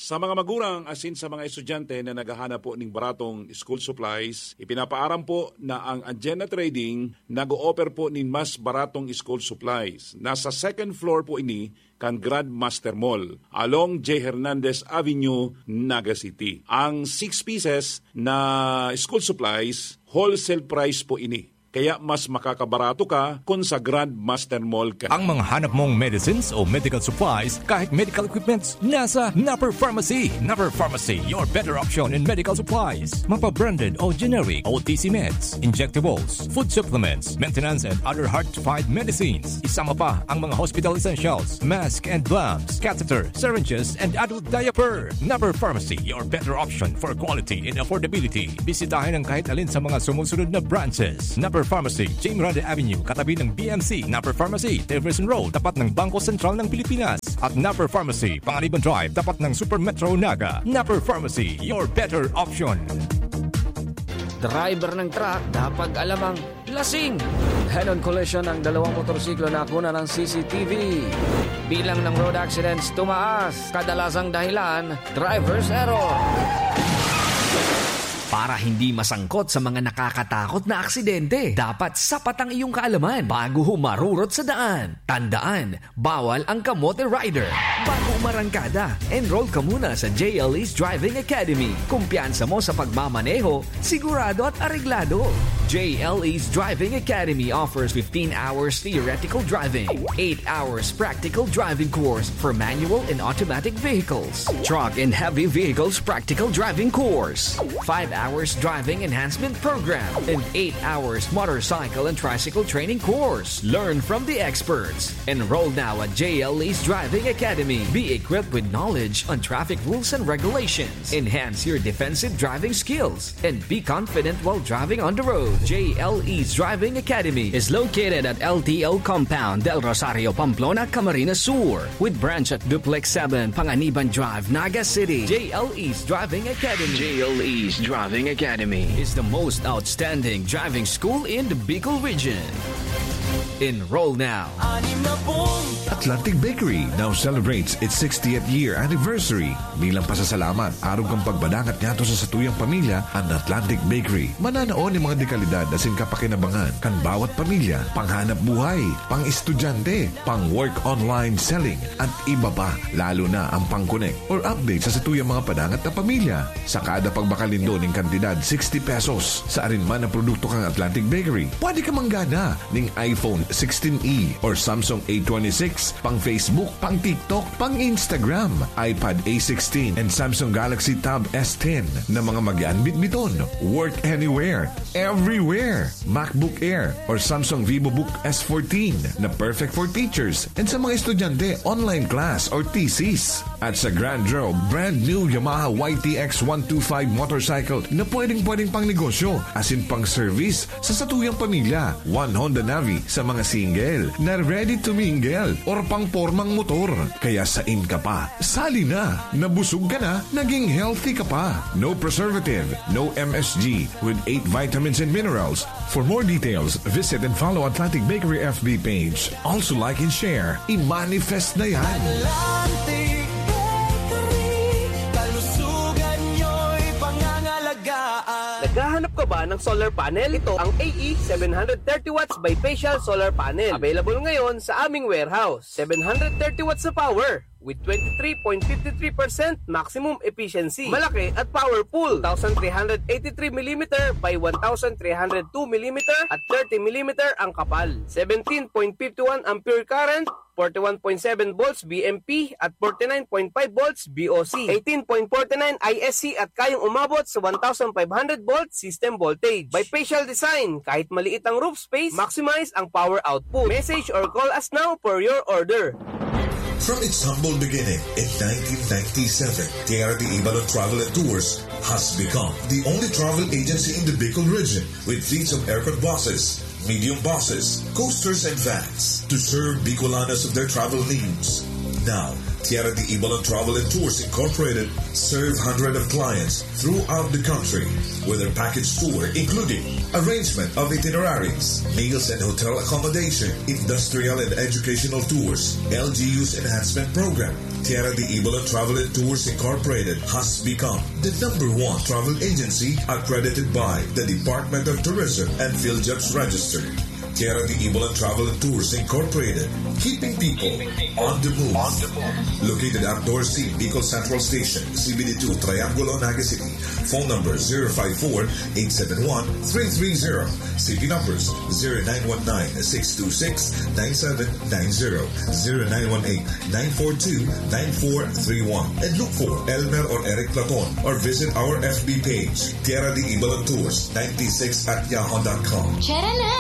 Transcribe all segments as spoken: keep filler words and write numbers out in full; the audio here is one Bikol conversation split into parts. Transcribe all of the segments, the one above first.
Sa mga magurang asin sa mga estudyante na naghahanap po ning baratong school supplies, ipinapaaram po na ang Agena Trading nag-o-offer po nin mas baratong school supplies. Nasa second floor po ini kan Grandmaster Mall, along J Hernandez Avenue, Naga City. Ang six pieces na school supplies, wholesale price po ini. Kaya mas makakabarato ka kun sa Grandmaster Mall ka. Ang mga hanap mong medicines o medical supplies, kahit medical equipments, nasa Napper Pharmacy. Napper Pharmacy, your better option in medical supplies. Mapa-branded o generic, O T C meds, injectables, food supplements, maintenance and other hard-to-find medicines. Isama pa ang mga hospital essentials, mask and gloves, catheter, syringes, and adult diaper. Napper Pharmacy, your better option for quality and affordability. Bisitahin ang kahit alin sa mga sumusunod na branches. Napper Pharmacy, Jim Rada Avenue, katabi ng B M C. Napper Pharmacy, Teverson Road, tapat ng Bangko Sentral ng Pilipinas. At Napper Pharmacy, Panganiban Drive, tapat ng Super Metro Naga. Napper Pharmacy, your better option. Driver ng truck, dapat alam ang lasing. Head-on collision ng dalawang motorsiklo na nakuna ng C C T V. Bilang ng road accidents tumaas, kadalasang dahilan, driver's error. Para hindi masangkot sa mga nakakatakot na aksidente, dapat sapat ang iyong kaalaman bago humarurot sa daan. Tandaan, bawal ang kamote rider. Bago umarangkada, enroll ka muna sa J L E's Driving Academy. Kumpiyansa mo sa pagmamaneho, sigurado at areglado. J L E's Driving Academy offers fifteen hours theoretical driving, eight hours practical driving course for manual and automatic vehicles, truck and heavy vehicles practical driving course, five hours driving enhancement program, and eight hours motorcycle and tricycle training course. Learn from the experts. Enroll now at J L E's Driving Academy. Be equipped with knowledge on traffic rules and regulations. Enhance your defensive driving skills and be confident while driving on the road. J L E's Driving Academy is located at L T O Compound, Del Rosario, Pamplona, Camarines Sur, with branch at Duplex seven, Panganiban Drive, Naga City. J L E's Driving Academy. J L E's Driving Academy is the most outstanding driving school in the Bicol region. Enroll now. Atlantic Bakery now celebrates its sixtieth year anniversary. Bilang pasasalamat, arog kan pagpadangat ngadto sa satuyang pamilya, an Atlantic Bakery mananao nin mga dekalidad asin kapakinabangan kan bawat pamilya, panghanap buhay, pang-estudyante, pang-work online selling, at iba pa, lalo na ang pang-connect or update sa satuyang mga padangat na pamilya. Sa kada pagbakalindol nin kantidad sixty pesos sa arin man na produkto kan Atlantic Bakery, pwede ka manggana ning iPhone sixteen E or Samsung A twenty-six, pang Facebook, pang TikTok, pang Instagram, iPad A sixteen, and Samsung Galaxy Tab S ten na mga mag-aanbit-biton. Work anywhere, everywhere. MacBook Air or Samsung VivoBook S fourteen na perfect for teachers and sa mga estudyante, online class or thesis. At sa Grand Road, brand new Yamaha Y T X one two five motorcycle na pwedeng-pwedeng pang negosyo asin pang service sa satuyang pamilya. One Honda Navi sa mga single na ready to mingle or pang pormang motor. Kaya sain ka pa? Sali na! Nabusog ka na, naging healthy ka pa. No preservative, no M S G, with eight vitamins and minerals. For more details, visit and follow Atlantic Bakery F B page. Also like and share. I-manifest na yan. Atlantic Bakery, kalusugan nyo'y pangangalagaan. Naghahanap ka ba ng solar panel? Ito ang A E seven hundred thirty watts bifacial solar panel. Available ngayon sa aming warehouse. Seven hundred thirty watts na power with twenty-three point five three percent maximum efficiency. Malaki at powerful. Two thousand three hundred eighty-three millimeter by one thousand three hundred two millimeter at thirty millimeter ang kapal. Seventeen point five one ampere current, forty-one point seven volts V M P at forty-nine point five volts V O C, eighteen point forty-nine I S C at kayang umabot sa one thousand five hundred volt system voltage. Bifacial design, kahit maliit ang roof space, maximize ang power output. Message or call us now for your order. From its humble beginning in nineteen ninety-seven, Tierra de Ibalon Travel and Tours has become the only travel agency in the Bicol region with fleets of aircon buses, medium buses, coasters, and vans to serve Bicolanos of their travel needs. Now, Tierra de Ibalon Travel and Tours Incorporated serve hundreds of clients throughout the country with their package tour, including arrangement of itineraries, meals and hotel accommodation, industrial and educational tours, L G U's enhancement program, Tierra de Ibola Travel and Tours Incorporated has become the number one travel agency accredited by the Department of Tourism and PhilJobs Register. Tierra de Ibola Travel and Tours Incorporated, keeping people on the move. Located at Dorsey, Bicol Central Station, C B D two, Triangulo, Naga City. Phone number zero five four, eight seven one, three three zero. C P numbers zero nine one nine, six two six, nine seven nine zero, zero nine one eight, nine four two, nine four three one. And look for Elmer or Eric Platon or visit our F B page, Tierra de Ibola Tours ninety-six at yahoo dot com. Tara na!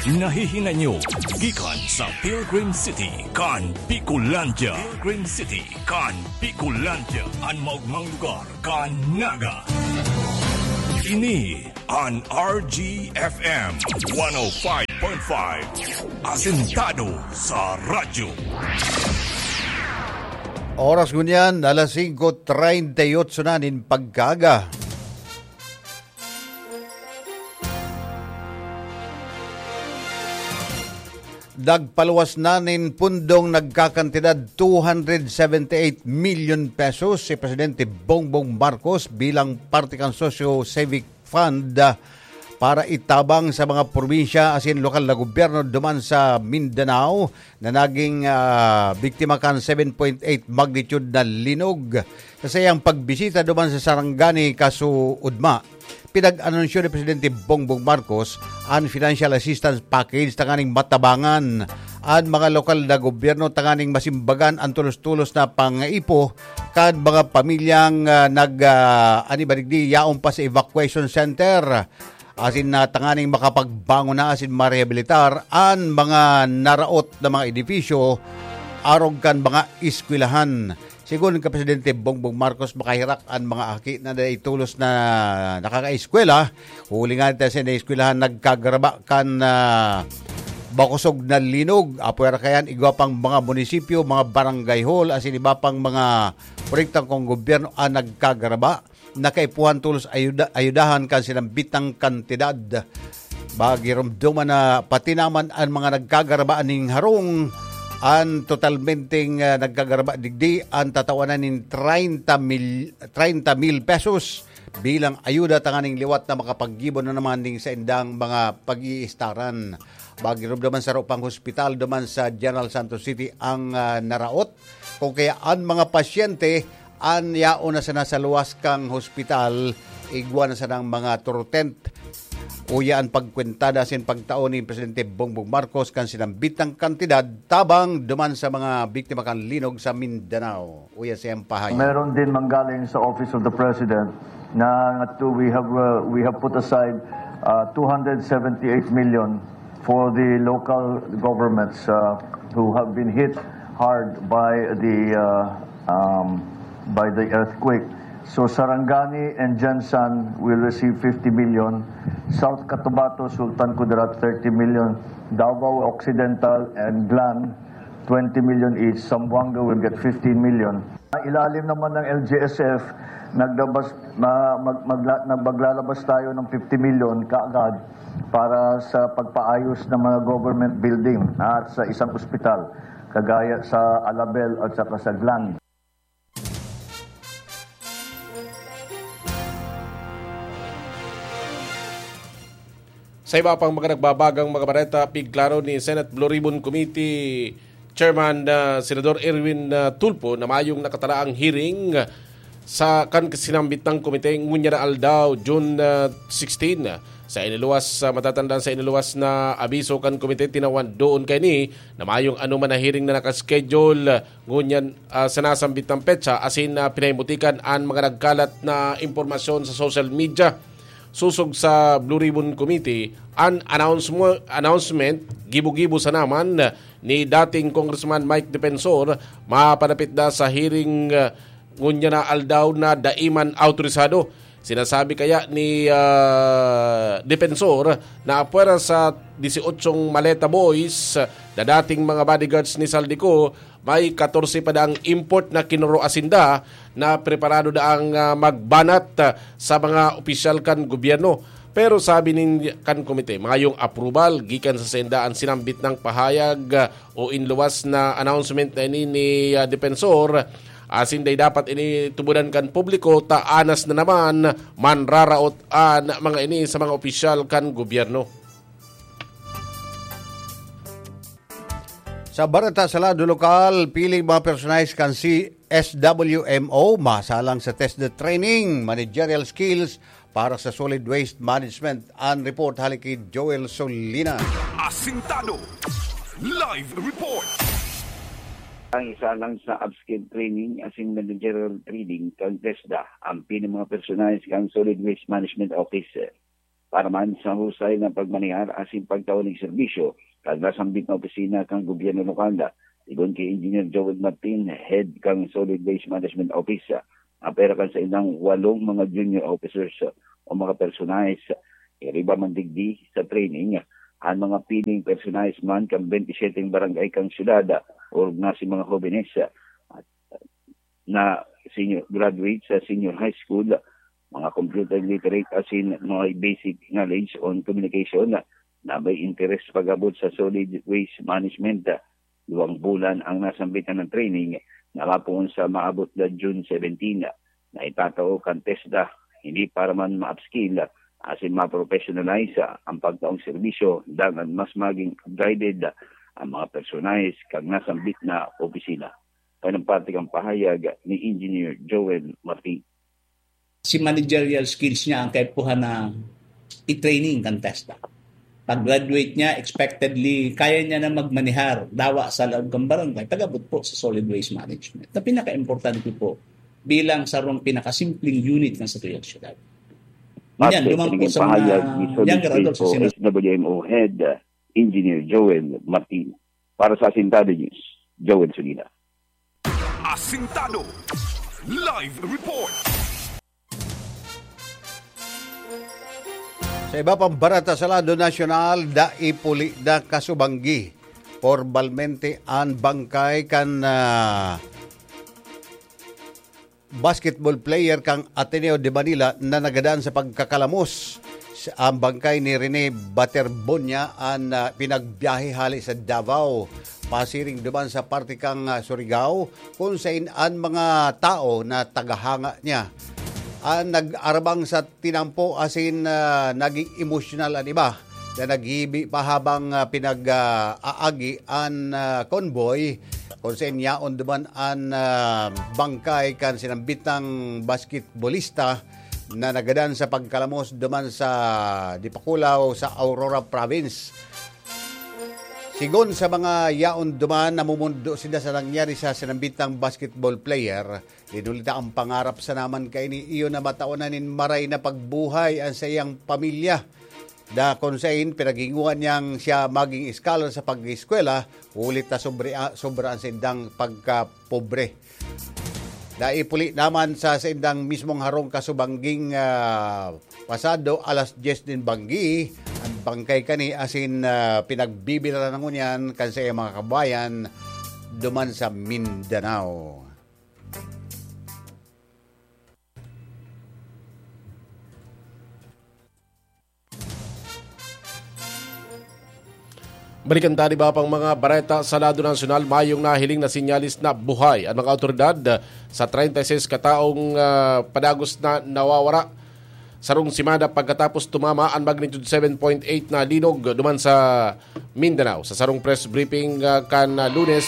Nahihinay nyo gikan sa Pilgrim City kan Bicolandia. Pilgrim City kan Bicolandia, an maogmang lugar kan Naga. Ini an R G F M one oh five point five, asentado sa radyo. Oras ngunyan, alas singko treinta y ocho na nin pagkaaga. Nagpaluwas na nin pundong nagkakantidad two hundred seventy-eight million pesos si Presidente Bongbong Marcos bilang parte kan Socio Civic Fund, ah, para itabang sa mga probinsya asin lokal na gobyerno duman sa Mindanao na naging, ah, biktima kan seven point eight magnitude na linog. Sa saiyang pagbisita duman sa Sarangani kasuodma, pinag-anunsyo ni Presidente Bongbong Marcos an financial assistance package tanganing matabangan an mga lokal na gobyerno tanganing masimbagan an tulos-tulos na pangaipo kan mga pamilyang, ah, nag, ah, ani ba digdi, yaon pa sa evacuation center, asin na tanganing makapagbangon na asin marehabilitar an mga naraot na mga edifisyo arog kan mga eskwelahan. Sigon kan Presidente Bongbong Marcos, makaherak an mga aki na naitulos na nakakaeskwela, huli ngani ta sa eskwelahan nagkagaraba kan, ah, bakosog na linog. Apwera kaiyan, igwa pang mga munisipyo, mga barangay hall, asin iba pang mga proyekto kan gobyerno an nagkagaraba. Nakaipuhan tolos ayuda-, ayudahan kan sinambitang kantidad. Magiromdoman na pati naman an mga nagkagaraba ning harong, an totalmenteng, ah, nagkagaraba digdi, an tatawanan nin treinta mil, treinta mil pesos bilang ayuda tanganing liwat na makapaggibo na naman ning saindang mga pag-iistaran. Magiromdoman saro pang hospital duman sa General Santos City ang, ah, naraot. Kung kaya an mga pasyente an yaon na sana sa luwas kan hospital, igwa na sanang mga turtent. Uya an pagkwentada asin pagtao ni Presidente Bongbong Marcos kan sinambitang kantidad tabang duman sa mga biktima kan linog sa Mindanao. Uya siyang pahayag. Meron din manggaling sa Office of the President na to, we have, uh, we have put aside, uh, two hundred seventy-eight million for the local governments, uh, who have been hit hard by the, uh, um, by the earthquake. So Sarangani and Gensan will receive fifty million. South Cotabato, Sultan Kudarat, thirty million. Davao Occidental and Glan, twenty million each. Zamboanga will get fifteen million. Ilalim naman ng L G S F, naglabas, ma-, mag-, magla-, nag-, maglalabas tayo ng fifty million kaagad para sa pagpaayos ng mga government building at sa isang ospital, kagaya sa Alabel at saka sa Glan. Sa iba pang mga nagbabagang mga bareta, pigklaro ni Senate Blue Ribbon Committee Chairman, ah, Senador Erwin, ah, Tulfo na mayong nakatalaang hearing sa kan sinambit na komite ngunyan na aldaw, June, ah, sixteen. Sa iniluwas, ah, matatandaan sa iniluwas na abiso kan komite, tinawan doon kaini na mayong anoman na hearing na nakaschedule, ah, ngunyan, ah, sa nasambit na petsa, asin, ah, pinahimutikan an mga nagkalat na impormasyon sa social media. Sosog sa Blue Ribbon Committee, an announcemo-, announcement, gibo-gibo sana man ni dating Congressman Mike Defensor, mapanapit na sa hearing, ah, ngunyan na aldaw na dai man awtorisado. Sinasabi kaya ni, ah, Defensor na apwera sa dieciocho maleta boys na dating mga bodyguards ni Zaldy Co, may katorse pa daang import na kinoroasinda na preparado daang, ah, magbanat, ah, sa mga opisyal kan gobyerno. Pero sabi nin kan komite, mayong approval gikan sa sainda an sinambit nang pahayag, ah, o inluwas na announcement na ini ni, ah, Defensor. Asin dai dapat ini tubudan kan publiko, ta anas na naman manraraot an mga ini sa mga opisyal kan gobyerno. Sa bareta sa lado lokal, piling mga personahe kan C S W M O masalang sa TESDA training, managerial skills para sa solid waste management. An report hali ki Joel Solina. Asintado. Live report. Ang isa lang sa upskill training asin managerial training kan TESDA, ang pili mga personahe kan Solid Waste Management Office. Para man sa husay na pagmanehar asin pagtao nin serbisyo, kan nasambit na opisina kan gobyerno lokal, sigon ki Engineer Joel Martin, head kan Solid Waste Management Office, apera kan saindang walong mga junior officers o mga personahe. Iriba man digdi sa training, ang mga piling personahe man kan twenty-seven barangay kan syudad, orog na si mga hobenes na senior graduate sa senior high school, mga computer literate asin mga basic knowledge on communication na may interes pag-abot sa solid waste management. Duwang bulan ang nasambitan ng training na mapoon sa maabot na June seventeen, na itatao kan TESDA, hindi para man ma-upskill asin ma-professionalize ang pagtaong serbisyo, dangan mas maging upgraded ang mga personahe kan nasambit na opisina. Kan parte kan pahayag ni Engineer Joel Martin. Si managerial skills niya ang kaipuhan na i-training kan TESDA. Pag-graduate niya, expectedly, kaya niya na magmanehar, dawa sa loob ng barangay, pag-abot po sa solid waste management. Na pinaka-importante po bilang sarong pinakasimpleng unit ng satuyang syudad. Yan, Parte duman po sa mga pahayag ni Solid Waste o S W M O Head, uh, Engineer Joel Martin. Para sa Asintado News, Joel Sulina. Asintado. Live report. Sa iba pang bareta sa lado nasyonal, dai puli na kasubanggi pormalmente an bangkay kan, ah, basketball player kan Ateneo de Manila na nagadan sa pagkakalamos. Sa, ang bangkay ni Rene Baterbonia an, ah, pinagbiyahe hali sa Davao, pasiring duman sa parte kan, ah, Surigao, kun sain an mga tao na tagahanga niya an nag-arabang sa tinampo asin, ah, naging emosyonal an iba na naghibi pa habang, ah, pinag, ah, aagi an, ah, convoy, kun sain yaon duman an, ah, bangkay kan sinambitang basketbolista na nagadan sa pagkalamos duman sa Dipakulaw sa Aurora Province. Sigon sa mga yaon duman, namumundo sinda sa nangyari sa sinambitang basketball player. Dinulita ang pangarap sa naman kaini iyo na mataon na nin maray na pagbuhay ang saiyang pamilya. Da kun sain, pinaghinguan niyang siya maging scholar sa pag-eskwela, huli ta sobre, ah, sobra ang saindang pagkapobre. Naipuli naman sa saindang mismong harong kasubangging, ah, pasado alas dyes nin banggi, ang bangkay kani asin, ah, pinagbibilaran ngunyan kan saiyang mga kabayan duman sa Mindanao. Balikan ta an iba pang mga bareta sa lado nasyonal. Mayong nahiling na sinyalis na buhay an mga awtoridad sa treinta y seis kataong, ah, padagos na nawawara. Sarong semana pagkatapos tumama an magnitude seven point eight na linog duman sa Mindanao. Sa sarong press briefing, ah, kan, ah, Lunes,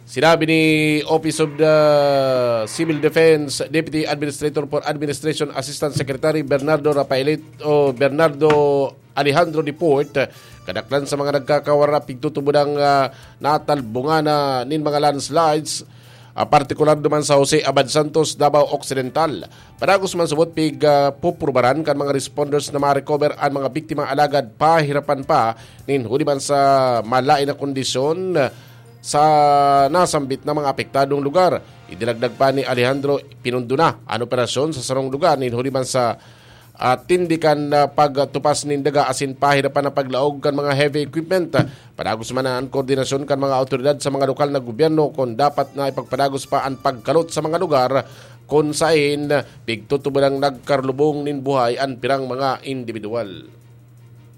sinabi ni Office of the Civil Defense Deputy Administrator for Administration Assistant Secretary Bernardo Rafaelit o Bernardo Alejandro Deport, kadaklan sa mga nagkakawara pigtutubod ang, ah, natalbungan na nin mga landslides, ah, partikular duman sa Jose Abad Santos, Davao Occidental. Padagos man subot pig, ah, pupurbaran kan mga responders na ma-recover an mga biktima, alagad pahirapan pa nin huli man sa malain na kondisyon sa nasambit na mga apektadong lugar. Idinagdag pa ni Alejandro, pinundo na an operasyon sa sarong lugar nin huli man sa, ah, tindi kan, ah, pagtupas nin daga asin pahirapan na paglaog kan mga heavy equipment. Padagos man an koordinasyon kan mga awtoridad sa mga lokal na gobyerno kun dapat na ipagpadagos pa an pagkalot sa mga lugar kun saen pigtutubanang nagkarlubong nin buhay an pirang mga indibidwal.